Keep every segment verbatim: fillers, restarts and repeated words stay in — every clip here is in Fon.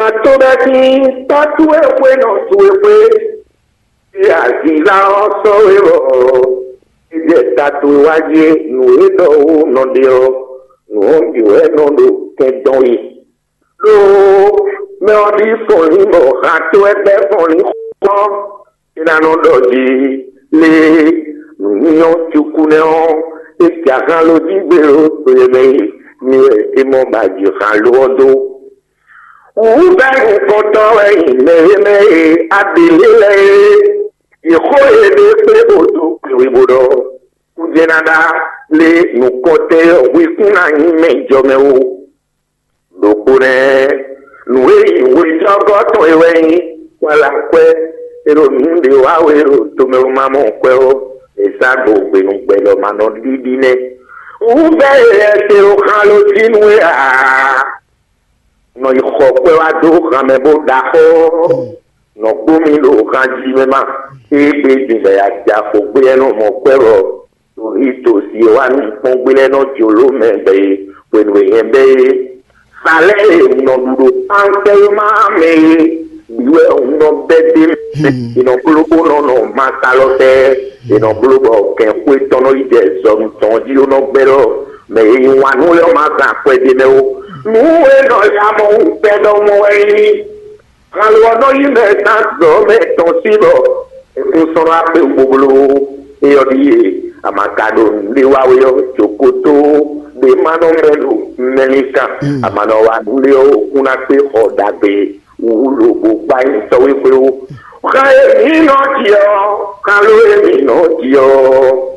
Atobɛ́tín tɔ́ towe xwé nɔ towe xwé, e aziza ɔ́ sɔ́ we bɔ é jɛ ta towe wá jí é. Nǔ e ɖɔ wú nɔ ɖe ɔ́, nǔ ɔ́ bǐ wɛ nɔ ɖo kɛn dɔn we. Ɖó mɛ ɔ́ ɖi fɔnlín bɔ han towe bɛ́ fɔnlín xɔ. É ná nɔ ɖɔ jí lé nǔnyɔ́ cukú nɛ́ ɔ́, é jɛ ahan ló jí gbé ɖó to e mɛ e mi wɛ é mɔ ba ji han ló ɔ́ dó. Wǔvɛ́ nukɔntɔn wɛ nyí mɛ e mɛ e aɖělé lɛ́ɛ é. Yě xó yěɖée kplé bó dó kpěwé bó ɖɔ kújɛ́ ná ɖá lé nukɔntɛn e hwekún ná nyí mɛ jɔ mɛ ó. Ɖokpó nɛ́, nǔ e nyí hwejɔ́gɔ́ tɔn é wɛ nyí wala kwɛ́ e ɖo nǔ ɖě wa we ɖo tomɛ wú ma mɔ kwɛ́ ó. È zán ɖo hwenu gbɛ ɖɔ ma nɔ ɖiɖi nɛ́. Wú bɛ́ e lɛ́ se ɖo xan ló jí nú we ǎ. Nɔ yi xɔ kwɛ́ wá dó han mɛ bó ɖaxó. Nɔ gbó mi ɖo han jí mɛ ma. Égbé din bɛ ya ja xo gbé ɛnɔ mɔ kwɛ́ bɔ Torí tòsí e wá nukpɔ́n gblɛ́ nɔ jló mɛ bɛ́ e hwenu e hɛn bɛ́ é. Sa lɛ́ɛ e un nɔ ɖu ɖo kpánkpɛ́ e má mɛ é bǐ wɛ un nɔ bɛ́ dó mɛ. È nɔ bló bó nɔ nɔ masalɔtɛ́. È nɔ bló bɔ kɛnxwé tɔn nɔ yi jɛ zɔnu tɔn jí bó nɔ gbɛ́ ɖɔ mɛ e yí wǎn nú lɛ́ɛ ɔ́ má zán akwɛ́ ɖé mɛ ó. Nǔ e nɔ ya mɔ wú gbɛ́ ɖɔhun ɔ́ wɛ nyí Kanlɔ ɔ́ nɔ yí mɛ tán zɔ̌ mɛ tɔn sí bɔ è kún sɔ́ nɔ akpé wú bóbló. É ɔ́ ɖíe, a ma ka ɖo nǔɖé wa wɛ ɔ́, jǒkótó ɖé ma nɔ mɛ ɖo mɛlíkan. A ma nɔ wa nǔɖé ɔ́, kún ná kpé xɔ ɖagbe wú lobo gbá nyi sɔ́ wé xwé ó. Xan e mǐ nɔ ji ɔ́, kanlɔ e mǐ nɔ ji ɔ́,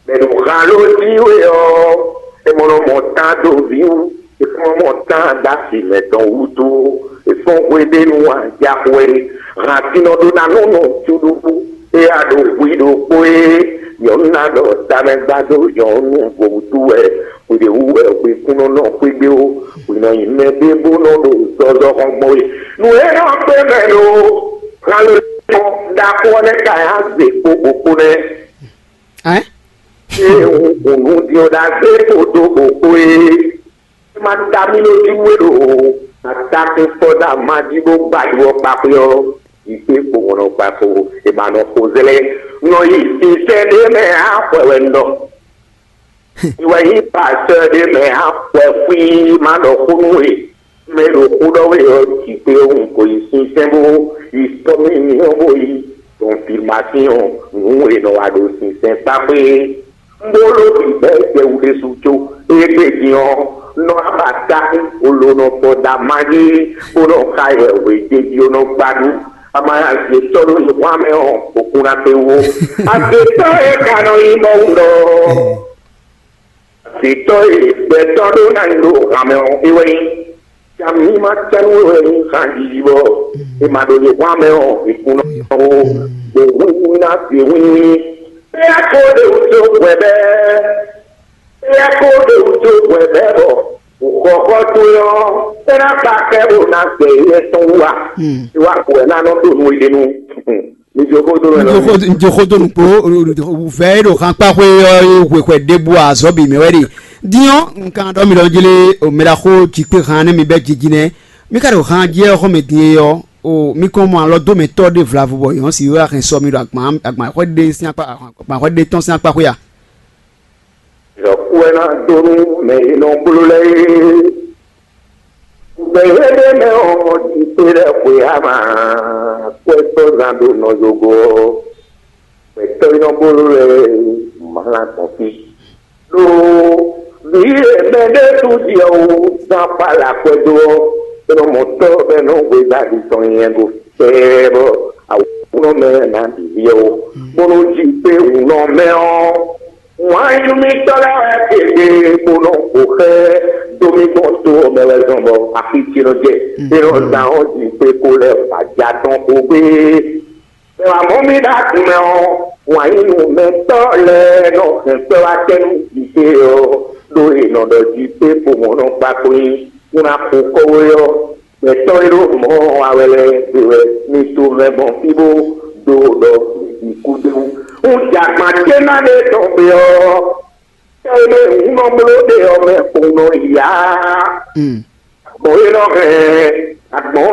Mɛ ɖo han ló jí we ɔ́, è mɔ nɔ mɔ tán dó vǐ wú, è kún nɔ mɔ tán dó asi mɛtɔn wútu, è fɔ́n hweɖénu ajaxwɛ. Hansinɔ ɖó ná nɔ nɔ cúɖúɖú, é a ɖo hwi ɖokpó é, nyɔ̌nu ná ɖɔ tamɛ gbá dó nyɔ̌nu vo wútu wɛ, hwi ɖě wú wɛ hwi kún nɔ nɔ xwé gbé ó, hwi nɔ nyi mɛ ɖé bó nɔ ɖo zɔzɔ xɔn gbɔn we. Nǔ e nɔ kpé mɛ ɖo han ló jí ɔ́, ɖaxó ɔ́ nɛ́ ka yá zě kpó bǒ kpó nɛ́. Ɛ? Ée un hun nǔ din ɔ́ ɖagbe kpódó bǒkpó é, é ma ta mì lójú nú é ɖo atakúnfɔ́ ɖo ama jí bó gba yi ɔ́ kpákpé ɔ́, yi kpé kpo wɔ̌n nɔ kpa kpo, è ma nɔ xo zlɛ́. Nɔ yi sinsɛn ɖé mɛ á xwɛ wɛ un ɖɔ. Mi wɛ nyí pastɔ́ ɖé mɛ á xwɛ xwí ma ɖɔ xó nú we. Mɛ e ɖo xó ɖɔ wɛ ɔ́, jǐ kpé ɔ́, un ko yi sinsɛn bó yi sɔ́ mì myɔ bó yi confirmation nǔ e nɔ wa ɖo sinsɛn kpákpé. Un ɖó ló bǐ bɛ́ jɛ wú ɖésú có. Égbé din ɔ́, nɔ abatákú olonɔ fɔ da mají bó nɔ xa yɛ hwějéjí ɔ́ nɔ gbá nú. Amaya zě tɔ́ ɖó yi xwán mɛ ɔ́, òkun ná kpé wú. Azětɔ́ e ka nɔ nyí Mɔwu ɖɔ. Azětɔ́ e gbɛtɔ́ ɖó ná nyi ɖo han mɛ ɔ́, é wɛ nyí. Cami ma cɛ́nú wɛ nyí xanjiji bɔ è ma ɖo yě hwan mɛ ɔ́, è kún nɔ ó, bɔ wíwí ná se wíwí. Éyɛ́ ko ɖe wútu hwɛ bɛ́, éyɛ́ ko ɖe wútu hwɛ bɛ́ bɔ xɔxɔ towe ɔ́, é ná kpa kɛ bó ná gbɛ yɛ tɔn wú a? Wá hwɛ ná nɔ ɖo nú é nu. Mi jó xó dó mɛ nɔ. Njoxo donu kpo vɛ e ɖo xankpaxwe ɔ́ e hwexwɛ ɖěbǔ azɔ̌ bǐ mɛ wɛ ɖe. Din ɔ́, un kan ɖɔ mi ɖɔ jlé o mɛ ɖaxó jǐkpé han nɛ́ mi bɛ́ jiji nɛ́. Mi ka ɖo han jɛ xɔ́ mɛ din e ɔ́, o mi kɔn mɔ alɔ dó mɛ tɔ́ ɖé vlavo bɔ yɔ̌n si wɛ hɛn sɔ mi ɖo agban agban xɔ ɖé sín akpa agban xɔ ɖé tɔn sín akpaxwe a? Yɔ̌kú wɛ ná dó nú mɛ e nɔ bló lɛ́ɛ é. Gbɛ̌ éɖée mɛ ɔ́, ɖi xwé lɛ́ɛ xwe ama kwɛ́tɔ́zán ɖo nɔ zogo ɔ́, gbɛ̌tɔ́ e nɔ bló lɛ́ɛ mlá gbɔn fí. Ɖó vǐ e mɛ ɖé ɖu ɖi ɔ́ wú zán kpá le akwɛ́ dó ɔ́, é nɔ mɔ tɔ́ bɔ é nɔ hwedó aɖi tɔn nyɛ ɖo fɛ́ɛ bɔ awǔnɔ mɛ ná ɖi vǐ ɔ́ ó, bónú jí kpé wǔnɔ mɛ ɔ́. Wǎn yíyí mǐtɔn lɛ́ɛ wɛ gěgé bó nɔ xo xɛ dó mì gbɔn to ɔ́ mɛ wɛ zɔn bɔ axi ce nɔ jɛ. É nɔ zán ɔ́ din kpé kó lɛ́ wǎ ja tɔn xo gbé. Mɛ wǎ mɔ mì ɖo agun mɛ ɔ́, wǎn yí nú mɛtɔ́ lɛ́ɛ nɔ hɛn kpɛ́ wá tɛ́ nú jǐ ce ɔ́, ɖó è nɔ ɖɔ jí pé kpomɔ nɔ kpa kó nyí kún ná xo kɔ́wé ɔ́. Gbɛtɔ́ e ɖo mɔ̌ wa wɛ lɛ́ɛ gbe wɛ mi to mɛ gbɔn fí bó dó ɖɔ mi kú dó. Un jɛ agban ce ná ɖe tɔn gbe ɔ́, tɛ́ e mɛ hǔn nɔ bló ɖe ɔ́ mɛ kpowun nɔ yá. Gbɔn e nɔ hɛn agbɔn